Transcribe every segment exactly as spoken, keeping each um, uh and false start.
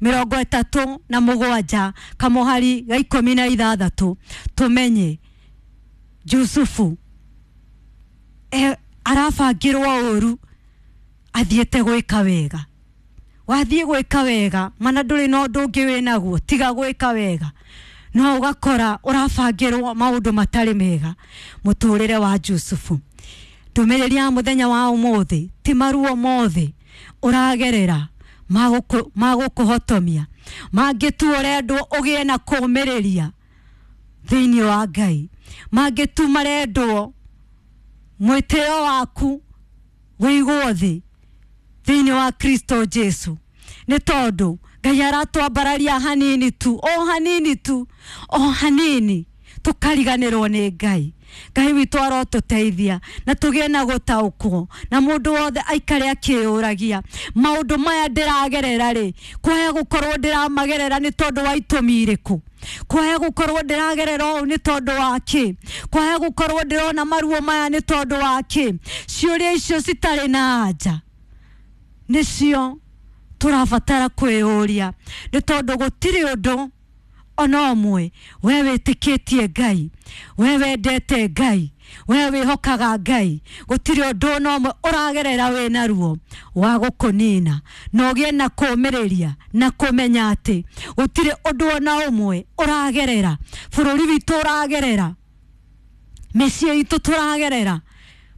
mĩrongo ĩtatũ na mũgwanja kamũhari ga ikũmi na ithathatũ tũmenye Jusufu e, arabangĩrwo ũru athiĩte gwĩka wega. Wathiĩ gwĩka wega mana ndũrĩ na ũndũ ũngĩ wĩnaguo tiga gwĩka wega, no ũgakora ũrabangĩrwo maũndũ matarĩ mega mũtũrĩre wa Jusufu. Ndũmĩrĩri ya mũthenya wa ũmũthĩ ti maruo mothe ũragerera magũkũhotomia, mangĩ tu ũrendwo ũgĩe na kũũmĩrĩria thĩinĩ wa Ngai, mangĩ tu marendwo mwĩtĩo waku wĩigwo thĩ thĩinĩ wa Kristo Jesu, nĩ tondũ Ngai aratwambararia hanini tu, o hanini tu, o hanini tukariganĩrwo nĩ Ngai. Ngai witũ arotũteithia na tũgĩe na gũtaũkwo, na mũndũ wothe aikare akĩyũragia maũndũ maya ndĩragerera rĩ, kwaya gũkorwo ndĩramagerera nĩ tondũ wa itũmi irĩkũ, kwaya gũkorwo ndĩragerera ũũ nĩ tondũ wa kĩ, kwaya gũkorwo ndĩrona maruo maya nĩ tondũ wa kĩ. Ciũria icio citarĩ na anja nĩcio tũrabatara kwĩyũria, nĩ tondũ gũtirĩ ũndũ ona ũmwe we wĩtĩkĩtie Ngai, we wendete Ngai, we wĩhokaga Ngai, gũtirĩ ũndũ ona ũmwe ũragerera wĩna ruo wa gũkũnina, na ũgĩe na kũũmĩrĩria na kũmenya atĩ gũtirĩ ũndũ ona ũmwe ũragerera, bũrũri witũ ũragerera, mĩciĩ itũ tũragerera,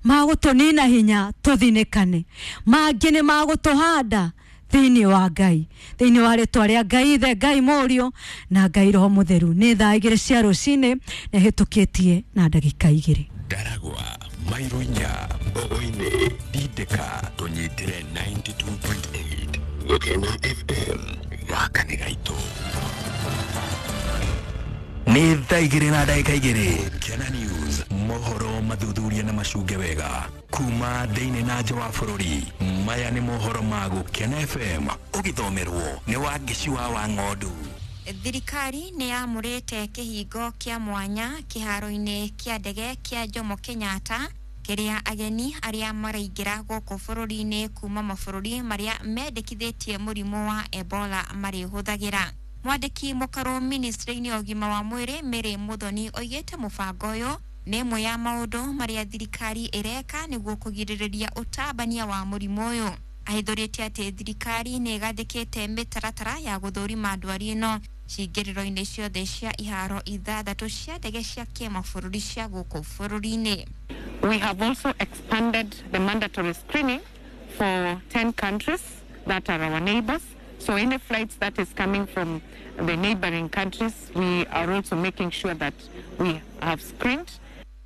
magũtũnina hinya tũthinĩkane, mangĩ nĩ magũtũhanda thĩinĩ wa Ngai, thĩinĩ wa rĩtwa rĩa Ngai Ithe, Ngai Mũriũ na Ngai Roho Mũtheru. Nĩ thaa igĩrĩ cia rũcinĩ na hĩtũkĩtie na ndagĩka igĩrĩ. Ndaragwa, Mairo inya, Mbogo-inĩ, Ndindĩka, tũnyitĩre ninety two point eight Gũkena F M, gaka nĩ gaitũ. Nĩ thaa igĩrĩ na ndagĩka igĩrĩ. Kena News, mohoro mathuthuria na macunge wega kuma thĩinĩ na nja wa bũrũri. Maya nĩ mohoro ma Gũkena F M, ũgĩthomerwo nĩ Wangeci wa Wang'ondu. Thirikari nĩ yamũrĩte kĩhingo kĩa mwanya kĩharo-inĩ kĩa ndege kĩa Jomo Kenyatta kĩrĩa ageni arĩa maraingĩra gũkũ bũrũri-inĩ kuma mabũrũri marĩa mendekithĩtie mũrimũ wa Ebola marĩhũthagĩra. Mwandĩki mũkarũ ministry-inĩ ya ũgima wa mwĩrĩ Mary Muthoni oigĩte mũbango ũyũ nĩ ĩmwe ya maũndũ marĩa thirikari ĩreka nĩguo kũgirĩrĩria ũtambania wa mũrimũ ũyũ. Ahithũrĩtie atĩ thirikari nĩ ĩgathĩkĩte mĩtaratara ya gũthũrima ndwari ĩno cingĩrĩro-inĩ ciothe cia iharo ithathatũ cia ndege cia kĩmabũrũri cia gũkũ bũrũri-inĩ. We have also expanded the mandatory screening for ten countries that are our neighbors. So any flights that is coming from the neighboring countries, we are also making sure that we have screened.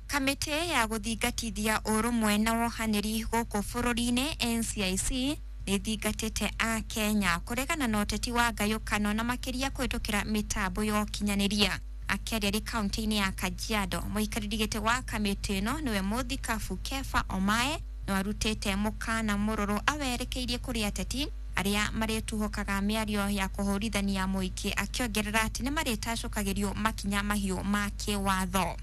Kamĩtĩ ya gũthingatithia ũrũmwe na wohanĩri gũkũ bũrũri-inĩ N C I C nĩ ĩthingatĩte a Kenya kũregana na ũteti wa ngayũkano na makĩria kũhĩtũkĩra mĩtambo ya ũkinyanĩria. Akĩaria arĩ kaunti-inĩ ya Kajiado, mũikarĩri gĩtĩ wa kamĩtĩ ĩno nĩwe mũthikabu Kefa Omae no arutĩte mũkana mũrũrũ awerekeirie kũrĩ ateti arĩa marĩtuhũkaga mĩario ya kũhũrithania mũingĩ, akĩongerera atĩ nĩ marĩtacũkagĩrio makinya mahiũ ma kĩwatho.